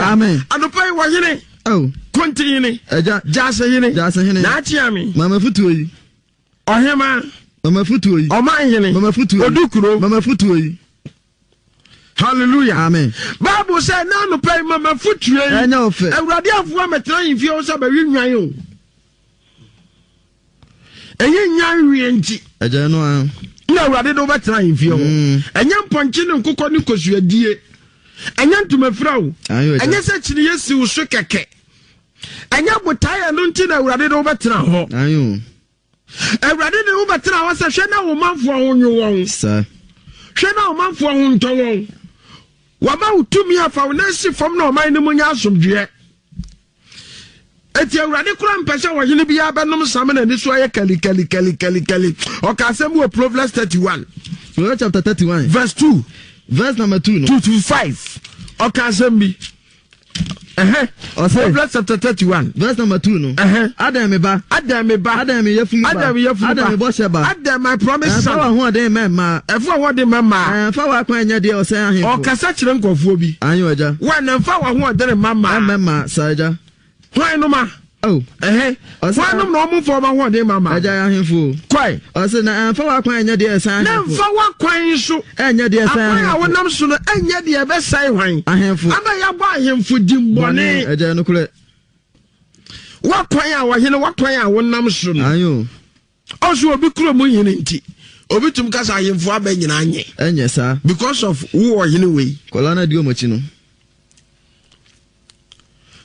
Hallelujah. Amen. Anɔpa yi wɔhene. Oh. Kontihene. Agya. Gyasehene. Gyasehene. N'akyeame. Mama futuo yi. Ɔhema. Mama futuo yi. Ɔmanhene. Mama futuo yi. Odukuro. Mama futuo yi. Hallelujah. Amen. Bible sɛ na anɔpa yi mama futuo yi. Ɛnyɛ ɔfɛ. Awurade afoa mɛtena ahemfie hɔ sɛ bɛwe nwan o. Ɛnyɛ nwan wie nti. Ɛgya no a. Na Awurade de wobɛtena ahemfie hɔ. Ɛnyɛ mpɔnkye ne nkokɔ ne kosuadie. Ɛnyɛ ntomafira o. Ɛnyɛ sɛ kyiniiɛ si wo so kɛkɛ. Ɛnyɛ botaeɛ ɛno nti na Awurade de wobɛtena hɔ. Awurade de wobɛtena hɔ sɛ hwɛ na wo manfoɔ ho nwo wɔn. Hwɛ na wo manfoɔ ho ntɔ wɔn. Wama wo tumi afa wo nan si fam na ɔman no mu nya asomdwoeɛ. Eti Awurade koraa mpɛ sɛ ɔhene biara bɛnom nsa ma n'ani so ayɛ kalikalikali. Ɔka asɛm bi wɔ Proverbs 31. Proverbs chapter 31. Verse 2. Verse number 2 no. 2 to 5. Ɔka asɛm bi. Ɛhɛ. Proverbs chapter 31. Verse number 2 no. Ɛhɛ. Adɛn me ba. Adɛn me ba. Adɛn me yafunu ba. Adɛn me yafunu ba. Adɛn me bɔhyɛ ba. Adɛn my promise son. Ɛmfa w'ahoɔden mma mmaa. Ɛmfa w'ahoɔden mma mmaa. Ɛmfa w'akwan nyɛ deɛ ɔsɛe ahemfo. Ɔkasa kyerɛ nkurɔfoɔ bi. Ayo agya. Wɔn ɛmfa w'ahoɔden mma mmaa. Ɛmma mmaa saa agya. Hwan nom a? Oh. Ɛhɛ. Hwan nom na wɔn mfa wɔn ahoɔden mma mmaa? Agya yɛ ahemfo. Kɔe. Ɔsɛ na ɛmfa w'akwan nyɛ deɛ ɛsɛe ahemfo. Na ɛmfa w'akwan nso. Ɛnyɛ deɛ ɛsɛe ahemfo. Akwan a wonam so no ɛnyɛ deɛ ɛbɛsɛe hwan? Ahemfo. Ama yɛabɔ ahemfo din bɔne. Agya nokorɛ. W'akwan a ɔhene w'akwan a wonam so no. Ayo. Ɔso obi kuro mu hene nti obi tum kasa ahemfo abɛ nyinaa nyɛ. Ɛnyɛ saa. Because of wo ɔhene wei. Kɔla na di wɔn akyi no.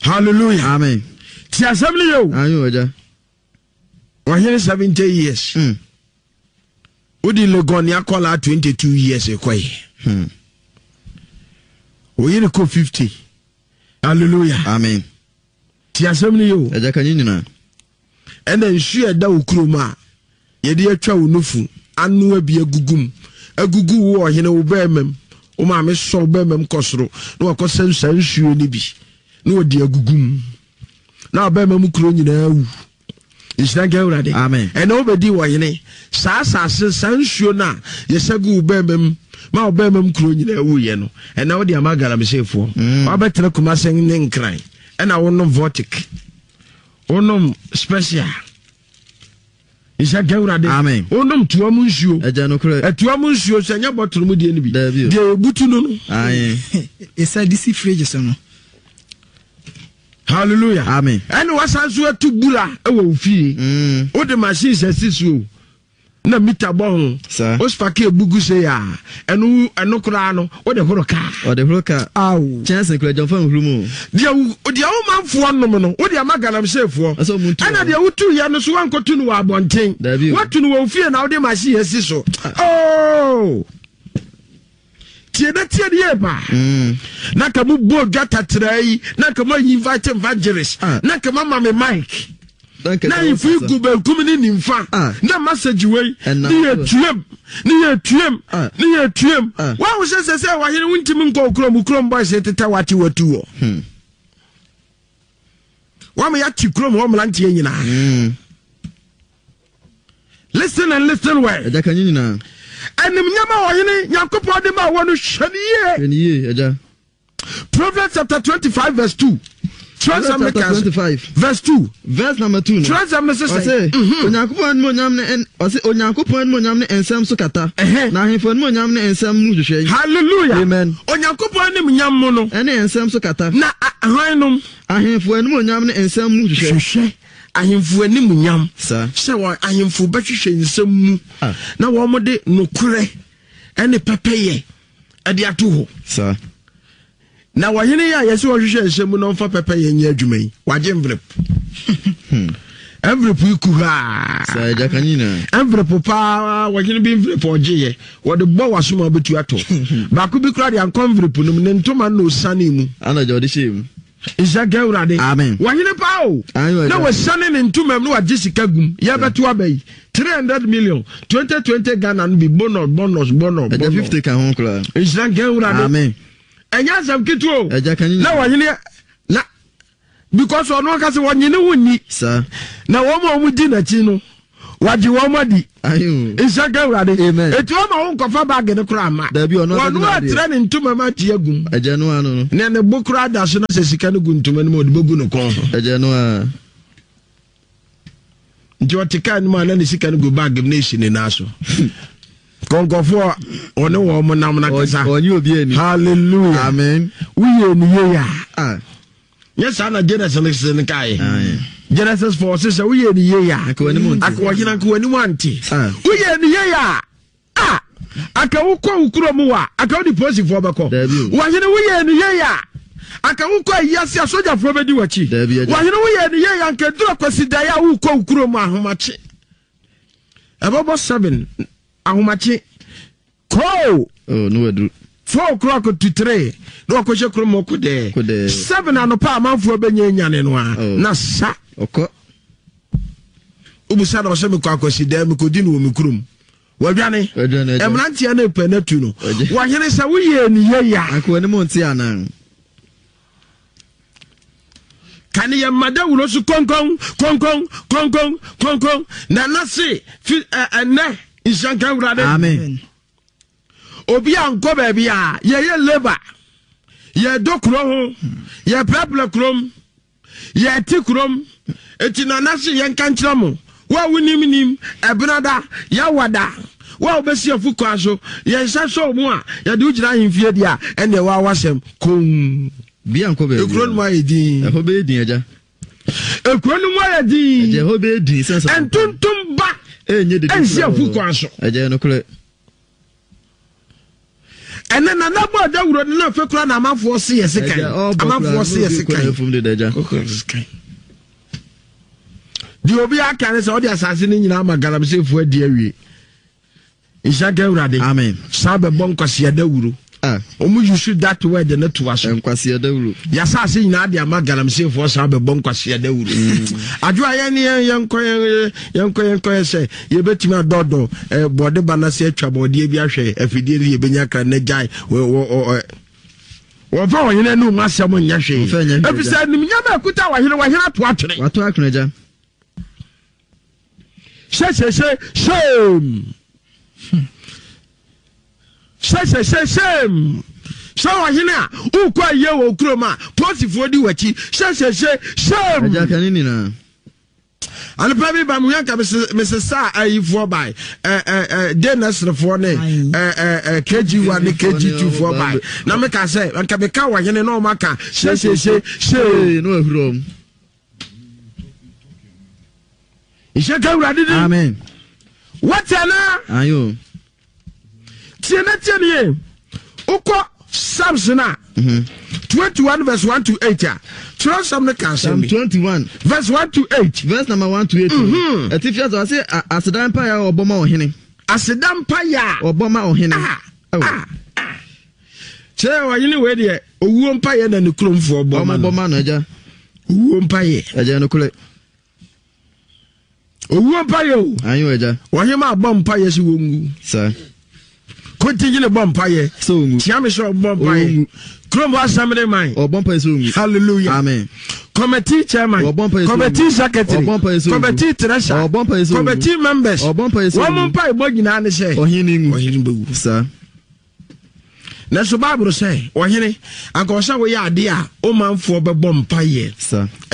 Hallelujah. Amen. Ti asɛm no yɛ o. Ayo agya. Ɔhene 70 years. Wodi Legon ne akɔla 22 years kɔe. Oyere kɔ 50. Hallelujah. Amen. Ti asɛm no yɛ o. Agya ka nye nyinaa. Ɛna nsu a ɛda wo kurom a yɛde atwa wo nufu anoa bi agugu mu agugu wo ɔhene wo bɛrima mu wo maame sɔ wo bɛrima mu kɔ soro na wakɔsɛ saa nsuo no bi na wɔde agugu mu na ɔbɛrima mu kuro nyinaa wu. Nhyira nka Awurade. Amen. Ɛna wobɛdi ɔhene saa asase saa nsuo no a yɛsɛ gu wo bɛrima mu ma wo bɛrima mu kuro nyinaa wuyɛ no ɛna wode ama galamseyfoɔ. Wabɛtena Kumase ne Nkran ɛna wonom vortic wonom special nhyɛ nka Awurade. Amen. Wonom toa mu nsuo. Ɛgya nokorɛ. Ɛtoa mu nsuo sɛ ɛnyɛ bɔtoro mu deɛ no bi. Daabi o. Deɛ yɛbutu no no. Aye. Ɛsa de si fridge so no. Hallelujah. Amen. Ɛna wasan so atu bura wɔ wo fie. Wode machine sɛ si so na mita bɔ ho. Saa. O spake ebugu se ya. Ɛno ɛno koraa no wode horo kaa. Ɔde horo kaa. Aw. Kyɛnse kura gyamfa nhuru mu. Deɛ wo deɛ wo manfoɔ nom no wode ama galamseyfoɔ. Ɛsɛ ɔmo ntu Ɛna deɛ wotu yɛ no so wankɔtu no wɔ abɔnten. Dabi o. Watu no wɔ wo fie na wode machine asi so. Oh. Tie na tie ne yie paa. Na nka mo bɔ dwa tatraa yi na nka mo ayi invite evangelist ah. na nka mo ama me mic. Na ahemfo yi gu benkum ne nimfa ah. na message wei ne yɛ tuam ne yɛ tuam ah. ne yɛ tuam. Wɔn sɛ sɛ sɛ wɔhene wontumi nkɔ okurom kurom boys tetɛ wate watu wɔ. Wɔn yɛate kurom hɔ mmeranteɛ nyinaa. Listen and listen well. Ɛgya ka nye nyinaa. Animnyam a ɔhene Nyankopɔn de ma wɔ no hwɛ ne yie. Hwɛ ne yie, ɛgya. Proverbs chapter 25 verse 2. Twerɛsɛm no chapter 25 verse 2. Verse number 2 no. Twerɛsɛm no sesɛ. Ɔse Onyankopɔn animuonyam ne ɔse Onyankopɔn animuonyam ne nsɛm so kata. Na ahemfo animuonyam ne nsɛm mu hwehwɛ. Hallelujah. Amen. Onyankopɔn animuonyam mu no. Ɛne nsɛm so kata. Na hwan nom? Ahemfo animuonyam ne nsɛm mu hwehwɛ. Hwehwɛ. Ahemfo animuonyam sɛ wɔn ahemfo bɛhwehwɛ nsɛm mu na wɔde nokorɛ ne pɛpɛyɛ de ato hɔ. Na ɔhene yi a yɛsɛ ɔhwehwɛ nsɛm mu na ɔmfa pɛpɛyɛ nyɛ adwuma yi, wagye envelope. Envelope yi kuhaa. Envelope paa ɔhene bi envelope ɔgyeeɛ wɔde bɔ w'asom a wobɛtu atɔ. Baako bi koraa de ankɔ envelope no mu ne ntoma na ɔsane mu. Ana gya ɔde hyɛɛ mu. Nhyira nka Awurade. Amen. Wɔhene paa o. Na wɔasiane ne ntoma mu na wagye sika gum. Yɛbɛto aba yi. 300 million. 2020 Ghana no bi bonus bonus bonus. Ɛgya 50 ka ho koraa. Nhyira nka Awurade. Amen. Ɛnyɛ asɛm ketewa o. Ɛgya ka nyina. Na wɔhene na because ɔno ankasa wɔnye ne ho nni. Saa. Na wɔn a wɔdi n'akyi no. Wagye wɔn adi. Nhyira nka Awurade. Eti ɔma wo nkɔfa baage no koraa ma. Wɔn atrɛ ne ntoma mu ate agum. Ne ne bo koraa da so na sɛ sika no gu ntoma no mu ɔde bɛgu ne kɔn ho. Nti ɔte kaa no mu a na ne sika no gu baage mu na esi ne nan so. Kɔnkɔfoɔ ɔne wɔn mo nam na kasa. Hallelujah. Amen. Woyɛ ne yie a. Ah. Nyɛ saa na Genesis no kaeɛ. Genesis 4 sɛ sɛ woyɛ ne yie a. Anka wɔhena anka w'anim ante. Ah. Woyɛ ne yie a. A anka wokɔ wo kurom wɔ a anka wode polisifoɔ bɛkɔ. Wɔhene woyɛ ne yie a. Anka wokɔ ayiase a sogyafoɔ bɛdi w'akyi. Wɔhene woyɛ ne yie a anka duru akwasidaeɛ a wokɔ wo kurom ahomakye. Ɛbɛbɔ 7 ahomakye. Koo! Oh, no waduru. 4 o'clock to 3 na wakɔhyɛ kurom hɔ kodɛɛ. Kodɛɛ. 7 anɔpa amanfoɔ bɛnya nyane no a Oh. na sa. Ɔkɔ. Wobusa na ɔsɛ mekɔ akwasi dɛɛ mekɔdi no wɔ me kurom. Wadwane. Wadwane, agya. Mmeranteɛ no repɛ no atu no. Wagye. Wɔhene sɛ woyɛɛ ne yei a. Anka w'anim nte anaa? Kane yɛ mma dawuro so konkon konkon konkon konkon na na se fi ɛnɛ nhyira nka Awurade. Amen. Obi a nkɔ baabi a yɛyɛ labour yɛdɔ kuro ho yɛprapra kurom yɛte kurom eti na na se yɛnka nkyerɛ mo wo a wonim nim ɛbenada yawada wo a wobɛsi afu kwan so yɛn nsa sɔ mu a yɛde wo gyina ahemfie deɛ a ɛnneɛ waa wasɛm komm. Bia nkɔ baabi. Ekuro no mu ayɛ din. Ɛhɔ bɛyɛ din agya. Ekuro no mu ayɛ din. Agya ɛhɔ bɛyɛ din sɛ sɛ. Ntontom ba. Ɛnyɛ dede. Ɛnsi afu kwan so. Agya yɛ nokorɛ. Ɛnɛ nana bɔ adawuro no na afɛ kura na amanfoɔ se yɛ sekan. Amanfoɔ se yɛ sekan. Deɛ obi aka ne sɛ ɔde asase no nyinaa ma galamseyfoɔ adi awie. Nhyira nka Awurade. Amen. San bɛbɔ nkwasea dawuro. Ah. Wɔn use that word no toa so. Nkwasea dawuro. Yasase nyinaa de ama galamseyfoɔ san bɛbɔ nkwasea dawuro. Adwo a yɛn yɛn yɛn kɔ yɛn yɛn kɔ yɛn kɔ yɛ sɛ yɛbɛtumi adɔdɔ eh, bɔde ba n'ase atwa bɔdeɛ bi ahwɛ afidie no yɛbɛnya kra na gyae wɔ wɔ wɔ wɔmfa ɔhene anum asɛm nyɛ hwee efisɛ animnyam a ɛkuta ɔhene wɔhene ato atwene. Wato atwene agya. Hyɛhyɛhyɛ shame. Hyɛhyɛhyɛ shame. Sɛ ɔhene a wokɔ ayie wɔ kurom a polisifoɔ di w'akyi hyɛhyɛhyɛ shame. Agya ka ne nyinaa. Anɔpa bi ba mu yɛn ka mesesa ayifoɔ bae de nɛserefoɔ ne kg1 ne kg2 foɔ bae na meka sɛ nka meka ɔhene na ɔma ka hyɛhyɛhyɛ hyɛ. No ahuro ɔm. Nhyɛ ka Awurade din. Amen. Wate anaa? Ayo. Tie na tie nie. Wokɔ Psalms no a, 21 verse 1 to 8 a, twerɛsɛm no ka asɛm bi. Psalm 21 verse 1 to 8. Verse number 1 to 8. Ɛtifi ase ɔse aseda mpaeɛ a ɔbɔ ma ɔhene. Aseda mpaeɛ a ɔbɔ ma ɔhene. Ah, ah, ah. Kyerɛ ɔhene wei deɛ owuo mpaeɛ na ne kuromfoɔ bɔ ma no. Ɔmo bɔ ma no agya. Owuo mpaeɛ. Agya nokorɛ. Owuo mpaeɛ o. Ayo agya. Ɔhema abɔ mpaeɛ sɛ wɔnwu. Sa. Kontingyene bɔ mpaeɛ. Sɛ ɔnwu. Tiame sɛ ɔbɔ mpaeɛ. Ɔnwu. Kurom hɔ assembly man. Ɔbɔ mpaeɛ sɛ ɔnwu. Hallelujah. Amen. Committee chairman. Ɔbɔ mpaeɛ sɛ ɔnwu. Committee secretary. Ɔbɔ mpaeɛ sɛ ɔnwu. Committee treasurer. Ɔbɔ mpaeɛ sɛ ɔnwu. Committee members. Ɔbɔ mpaeɛ sɛ ɔnwu. Wɔn mpaebɔ nyinaa ne sɛ. Ɔhene nwu. Ɔhene bɛwu. Sa. Nanso Bible sɛ, Ɔhene, anka ɔsɛ woyɛ adeɛ a wo manfoɔ bɛbɔ mpaeɛ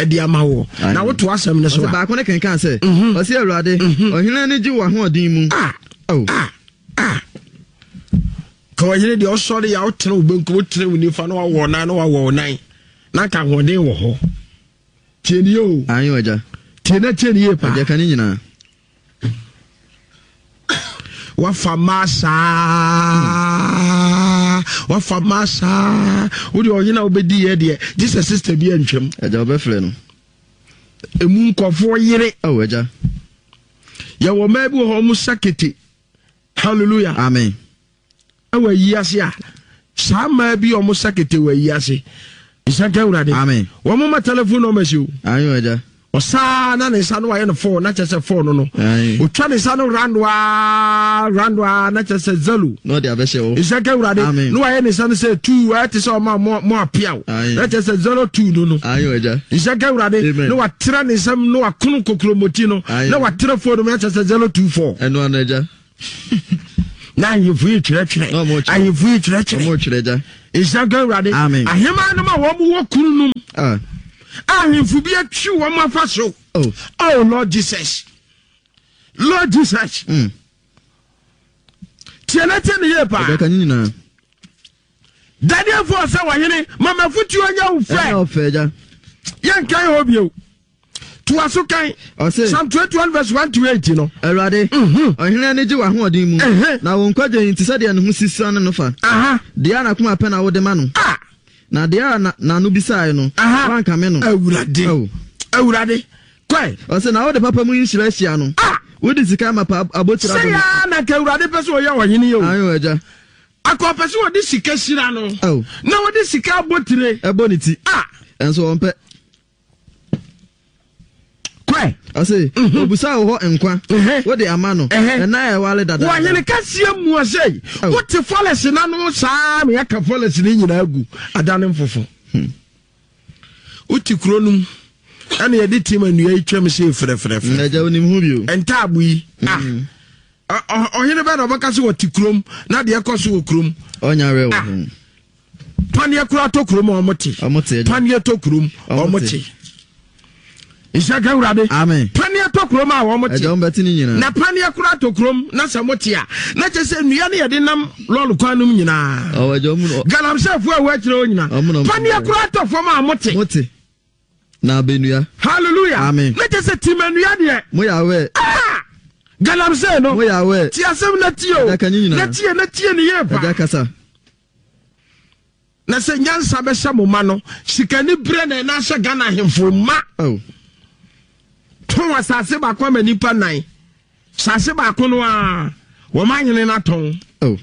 de ama woɔ. Na woto asɛm no so a. Ɔsɛ baako no kenkan sɛ, Ɔse Awurade, ɔhene ani gye w'ahoɔden mu. Ah, ah, ah. Ka ɔhene deɛ ɔsɔre yɛ a wotene wo benkum, wotene wo nifa na wawɔ nan na wawɔ wo nan. Na anka ahoɔden wɔ hɔ. Tie nie o. Ayo agya. Tie na tie nie paa. Agya ka ne nyinaa. Wafa mmaa saa. Wafa mmaa saa. Wode ɔhene a wobɛdi yɛ deɛ gye sɛ sister bi antwam. Agya wobɛfrɛ no. Emu nkɔfoɔ yere. Oh agya. Yɛwɔ mmaa bi wɔ hɔ ɔmo sa kete. Hallelujah. Amen. Ɛwɔ ayi ase a saa mmaa bi a wɔn sa kete wɔ ayi ase. Nsanka awurade. Amen. Wɔn ma telephone numbers o. Ayo agya. Ɔsaa na ne nsa no wayɛ no fɔɔ na kyerɛ sɛ fɔɔ no no. Otwa ne nsa no randoa randoa na kyerɛ sɛ zalo. Na ɔde abɛhyɛ hɔ. Nhyɛ nka Awurade. Na wayɛ ne nsa no sɛ tuu ayɛ te sɛ ɔma mo mo apeaw. Na kyerɛ sɛ 02 no no. Nhyɛ nka Awurade. Na watrɛ ne nsam na wakono kokuromoti no. Na watrɛ fɔɔ no mu na kyerɛ sɛ 024. Ɛno ano agya. Na ahemfo yi kyerɛkyerɛ. Ahemfo yi kyerɛkyerɛ. Nhyira nka Awurade. Aheman nom a wɔn wɔ kunu nom. Ah. Ahemfo bi atwi wɔn afa so. Oh. oh Lord Jesus. Lord Jesus. Mm. Tie na tie ne yie paa. Ɛbɛka ne nyinaa. Daniel fo sɛ wɔhene mama futuo nyɛ wo fɛ. Yɛnkan hɔ bio. Toa so kan. Ɔse. Psalm 21 verse 1 to 8 no. Awurade, mhm. ɔhene ani gye w'ahoɔden mu, na wo nkwagye nti sɛdeɛ ne ho si suane no fa. Deɛ a n'akoma pɛ na wode ma no. Ah. Na deɛ a n'ano bisaeɛ no, woankame no. Awurade. Awurade. Kɔe. Ɔse, na wode papa mu nhyira ahyia no. Ah. Wode sika amapa abotire abɔ ne. Sɛ yaa na nka Awurade pɛ sɛ ɔyɛ ɔhene yi o. Ayo agya. Anka ɔpɛ sɛ ɔde sika hyira no. Na ɔde sika abotire. Ɛbɔ ne ti. Ah. Ɛnso ɔmpɛ. Kɔe. Ɔse, mhm. obusa wo hɔ nkwa, mhm. wode ama no, ɛna a ɛwale dada. Wɔhene kɛseɛ mua sɛ, oh. wote fɔlɛs no ano saa na yɛaka fɔlɛs no nyinaa gu ada ne mfofo. Hmm. Wote kuro no mu, ɛna yɛde tim nnua yi twam sɛ frɛfrɛfrɛ. Ɛgya wonim ho bio. Ntaabo yi, ah. Hmm. Ɔhene bɛɛ na ɔbɛka sɛ wɔte kurom na deɛ ɛkɔ so wɔ kurom. Ɔnya werɛ wɔ ah. ho. Paneɛ koraa tɔ kurom a wɔte. Paneɛ tɔ kurom wɔn te. Nhyira ka Awurade. Amen. Paneɛ tɔ kurom a wɔn te. Ɛdɔm bɛte ne nyinaa. Na paneɛ koraa tɔ kurom na sɛ mo te a na kyerɛ sɛ nnua ne yɛde nam lɔɔre kwan nom nyinaa. Ɔwɔ ɛdɔm mu. Galamseyfoɔ a ɛwɔ akyire hɔ nyinaa. Paneɛ koraa tɔ fam a mo te. Mo te. Na abɛnua. Hallelujah. Amen. Na kyerɛ sɛ timanua deɛ. Mo yɛ awɛ. Ah! Galamsey no. Mo yɛ awɛ. Ti asɛm na tie o. Ɛda ka ne nyinaa. Na tie na tie ne yie pa. Ɛda kasa. Na sɛ nyansa bɛhyɛ mo ma no, sikani berɛ na ɛna ahyɛ Ghana ahemfo ma. Oh. Tɔn asase baako ama nipa nan. Asase baako no a wɔn ahene no atɔn. Oh.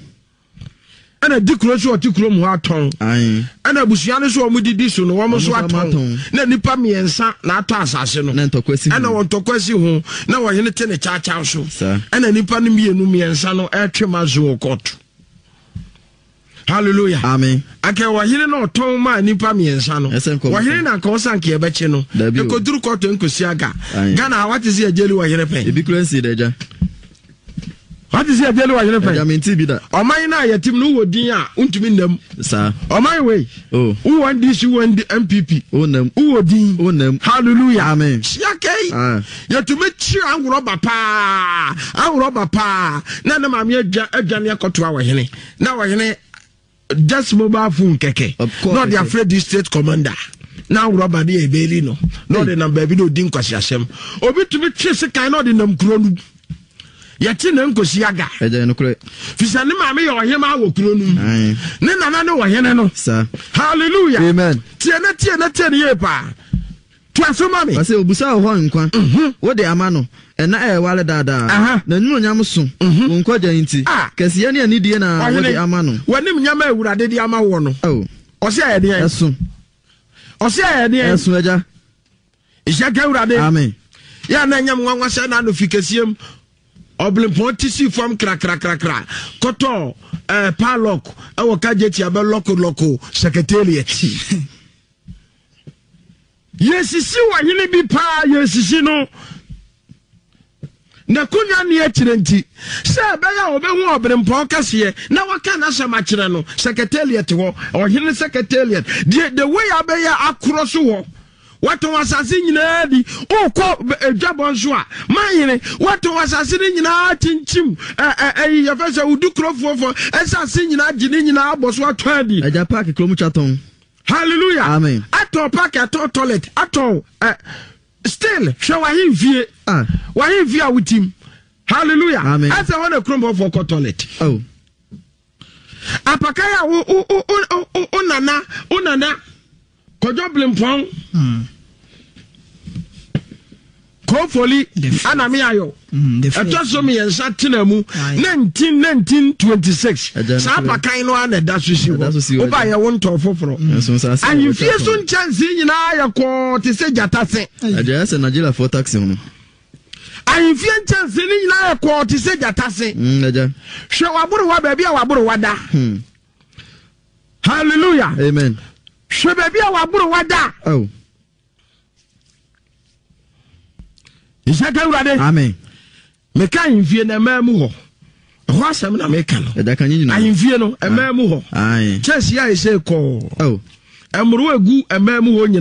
Ɛna di kuro so ɔte kurom hɔ atɔn. Ɛna abusua no so wɔn didi so no wɔn nso atɔn. Na nipa mmiɛnsa na atɔ asase no. Na ntɔkwa si ho. Ɛna wɔn ntɔkwa si ho. Na wɔhene te ne kyaakyaa so. Ɛna nipa no mmienu mmiɛnsa no ɛretwe ma zo wɔ kɔɔto. Hallelujah. Amen. Anka ɔhene na ɔtɔn maa nipa mmiɛnsa no. Ɔhene na anka ɔsan anka yɛbɛkye no. Ekoduru kɔtɔ nkosi aga. Ghana ha wate sɛ yɛgyeli ɔhene pɛn. Ebi kura nsi dɛ gya. Wate sɛ yɛgyeli ɔhene pɛn. Ɛgya mente bi da. Ɔman no a yɛtem no wɔ din a wontumi nnam. Saa. Ɔman wei. Oh. Wowɔ NDC wowɔ NPP. Wonam. Wowɔ din. Wonam. Hallelujah. Amen. Hyia kɛyi. Ah. Yɛtumi kyi anworɔba paa. Anworɔba paa. Na ne maame adwa adwane akɔtoa ɔhene. Na ɔhene just mobile phone kɛkɛ. Na ɔde afrɛ district commander. Na anworɔba de ɛbɛli no. Na ɔde nam baabi na ɔdi nkwasiasɛm. Obi tumi twe sekan na ɔde nam kuro no mu. Yɛte na nkosi aga. Ɛgya nokorɛ. Fisɛ ne maame yɛ ɔhema wɔ kuro no mu. Ne nana ne ɔhene no. Sa. Hallelujah. Amen. Tie na tie na tie ne yie paa. Toa so ma me. Ɔse obusa wo hɔ nkwa. Mhm. Wode ama no. Ɛna ɛreware daadaa. Aha. N'animuonyam so. Mhm. Wo nkwagya nti. Ah. Kɛseyɛ ne anidie na Ɔhene, wode ama no. w'anim nyama a Awurade de ama woɔ no. Oh. Ɔse ɛyɛ deɛn? Ɛso. Ɔse ɛyɛ deɛn? Ɛso agya. Nhyira nka Awurade. Amen. Yɛ a na ɛnyɛ me nwanwa sɛ na ano fi kɛseɛ mu ɔbelempɔn ti sii fam krakrakrakra kɔtɔɔ ɛɛ eh, padlock ɛwɔ kagyeti abɛ lɔko lɔko secretariat. Yɛsisi ɔhene bi paa yɛsisi no n'akonwa nni akyire nti sɛ ɛbɛyɛ a ɔbɛhu ɔberempɔn kɛseɛ na waka n'asɛm akyerɛ no secretariat hɔ ɔhene secretariat deɛ the way abɛyɛ akorɔ so hɔ watɔn asase nyinaa di wokɔ adwabɔ nso a manhene watɔn asase no nyinaa kyinkyim ɛyi yɛfɛ sɛ wodu kurofoɔ fɔ ɛsase nyinaa gye ne nyinaa abɔ so atɔn adi agya park kurom twa tɔn Hallelujah. Amen. Atɔn park, atɔn toilet, atɔn ɛ still hwɛ w'ahemfie. Ah. W'ahemfie a wotim. Hallelujah. Amen. Ɛsɛ hɔ na kurom hɔfoɔ kɔ toilet. Oh. Apakan a wo wo wo wo wo nana wo nana kɔdɔ blimpɔn. Hmm. Kofoli ana me ayɔ. Ɛtɔ so mmiɛnsa tena mu 1926. Saa apakan no ara na ɛda so si hɔ. Woba yɛ wo ntɔn foforɔ. Ahemfie so nkyɛnsee nyinaa yɛ kɔɔ te sɛ gyata se. Agya sɛ Nigeriafoɔ taxi ho. Ahemfie nkyɛnsee no nyinaa yɛ kɔɔ te sɛ gyata se. Hwɛ waborowa baabi a waborowa da. Hmm. Hallelujah. Amen. Hwɛ baabi a waborowa da. Oh. Nhyɛ ka Awurade. Amen. Meka ahemfie no ɛmaa mu hɔ. Ɛhɔ asɛm na meka no. Ahemfie no ɛmaa mu hɔ. Kyɛnse a ɛsɛ kɔɔ. Oh. Ɛmmoro egu ɛmaa mu hɔ nyinaa.